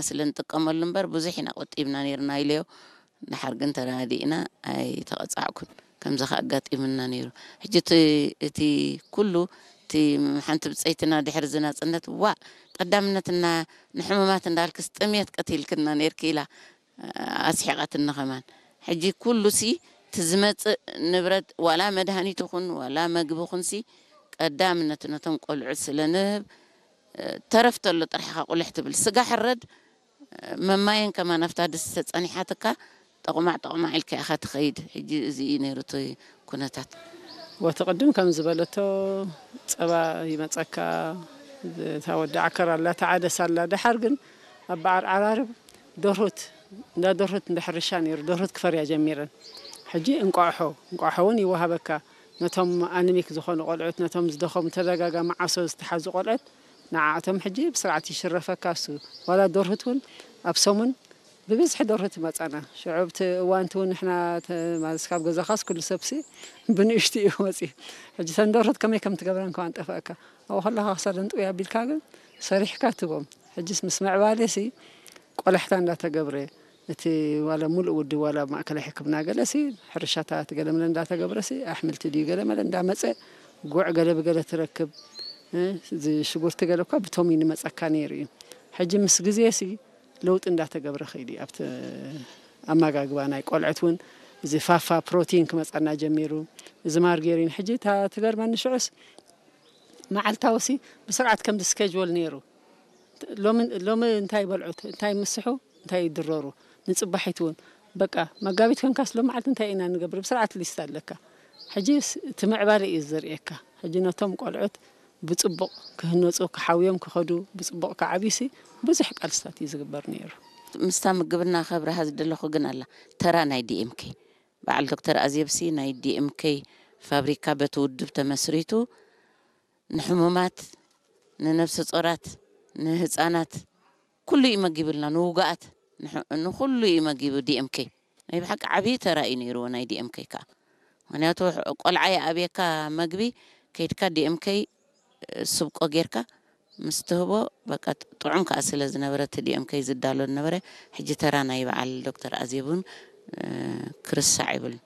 ስለ ንጥቀመሉ እምበር ብዙሕ ኢና ቆጢብና ነይርና ኢለዮ። ድሓር ግን ተረዳዲእና ኣይተቐጻዕኩን። ከምዚ ከኣ ኣጋጢሙና ነይሩ። ሕጂ እቲ፣ እቲ ኩሉ፣ እቲ ሓንቲ ብጸይትና ድሕሪ እዚ ናጽነት፣ "ዋእ፣ ቀዳምነትና ንሕሙማት እንዳልክስ ጥሜት ቀቲልክና ነይርኪ" ኢላ ኣስሒቓትኒ ከማን። ሕጂ ኩሉሲ እቲ ዝመጽእ ንብረት፣ ዋላ መድሃኒት ይኹን ዋላ መግቢ ይኹንሲ፣ ቀዳምነት ነቶም ቆልዑት ስለ ንህብ፣ ተረፍ ተሎ ጥራሕ ኢኻ ቁልሕ ትብል። ስጋ ሕረድ፣ መማየን ከማን ኣብታ ድስቲ ተጸኒሓትካ፣ ጠቑማዕ ጠቑማዕ ኢልካ ኢኻ ትኸይድ። ሕጂ እዚ እዩ ነይሩ እቲ ኩነታት። ወቲ ቅድም ከም ዝበለቶ፣ ጸባ ይመጸካ፣ እታ ወዲ ዓከር ኣላ፣ እታ ዓደስ ኣላ። ደሓር ግን ኣብ በዓል ዓራርብ ደርሁት፣ እንዳ ደርሁት እንዳ ሕርሻ ነይሩ፣ ደርሁት ክፈርያ ጀሚረን። ሕጂ እንቋቑሖ፣ እንቋቑሖ እውን ይወሃበካ። ነቶም ኣነሚክ ዝኾኑ ቆልዑት፣ ነቶም ዝደኸሙ፣ ተደጋጋሚ ዓሶ ዝተሓዙ ቆልዑት፣ ንዓኣቶም ሕጂ ብስርዓት ይሽረፈካ እሱ። ዋላ ደርሁት እውን ኣብ ሰሙን ብብዝሒ ደርሁት ይመጻና። ሽዑ ኣብቲ እዋንቲ እውን ንሕና ተ-፣ ማለት ካብ ገዛኻስ ኩሉ ሰብሲ ብንእሽቱ እዩ መጺኡ። ሕጂ እተን ደርሁት ከመይ ከም ትገብረን ከማን ጠፍኣካ። ኣብኡ ከለኻ ክሳደን ጥውይ ኣቢልካ ግን ሰሪሕካ ትቦም። ሕጂስ ምስ ምዕባለሲ ቆላሕታ እንዳተገብረ፣ እቲ ዋላ ሙሉእ ውድብ ዋላ ኣብ ማእከላይ ሕክምና ገለሲ፣ ሕርሻታት ገለ መለ እንዳተገብረሲ፣ ኣሕምልቲ ድዩ ገለ መለ እንዳመጸ፣ ጉዕ ገለ ብገለ ትረክብ፣ እ፣ እዚ ሽጉርቲ ገለ እኳ ብቶም እዩ ንመጸካ ነይሩ እዩ። ሕጂ ምስ ግዜሲ ለውጢ እንዳተገብረ ከይዱ እዩ። ኣብቲ ኣመጋግባ ናይ ቆልዑት እውን እዚ ፋፋ ፕሮቲን ክመጸና ጀሚሩ። እዚ ማርጌሪን ሕጂ እታ ትገርመኒ ሽዑስ መዓልታውሲ ብስርዓት ከምዚ ስኬጅወል ነይሩ። ሎሚ፣ ሎሚ እንታይ በልዑ፣ እንታይ ምስሑ፣ እንታይ ይድረሩ፣ ንጽባሒት እውን በቃ መጋቢት ኮንካስ ሎም መዓልቲ እንታይ ኢና ንገብር፣ ብስርዓት ሊስት ኣለካ። ሕጂ ስ-፣ እቲ ምዕባለ እዩ ዘርእየካ። ሕጂ ነቶም ቆልዑት ብጽቡቕ ክህነጹ፣ ክሓውዮም ክኸዱ፣ ብጽቡቕ ክዓብዩሲ ብዙሕ ቃልስታት እዩ ዝግበር ነይሩ። ምስታ ምግብና ከብርሃ ዝደለኹ ግን ኣላ፣ ተራ ናይ ዲ ኤም ኬ። በዓል ዶክተር ኣዜብሲ ናይ ዲ ኤም ኬ ፋብሪካ በቲ ውድብ ተመስሪቱ ንሕሙማት፣ ንነብሰ ጾራት፣ ንህጻናት ኩሉ እዩ መጊቡልና፣ ንውጉኣት፣ ንሕ-፣ ንኹሉ እዩ መጊቡ ዲ ኤም ኬ። ናይ ብሓቂ ዓብዪ ተራ እዩ ነይርዎ ናይ ዲ ኤም ኬ ከኣ። ምኽንያቱ ቆልዓ ይኣብየካ መግቢ፣ ከይድካ ዲ ኤም ኬ ስብቆ ጌርካ ምስ ትህቦ፣ በቃ ጥዑም ከኣ ስለ ዝነበረ እቲ ዲ ኤም ኬ ዝዳሎ ዝነበረ፣ ሕጂ ተራ ናይ በዓል ዶክተር ኣዜብ እውን፣ እ፣ ክርሳዕ ይብልን።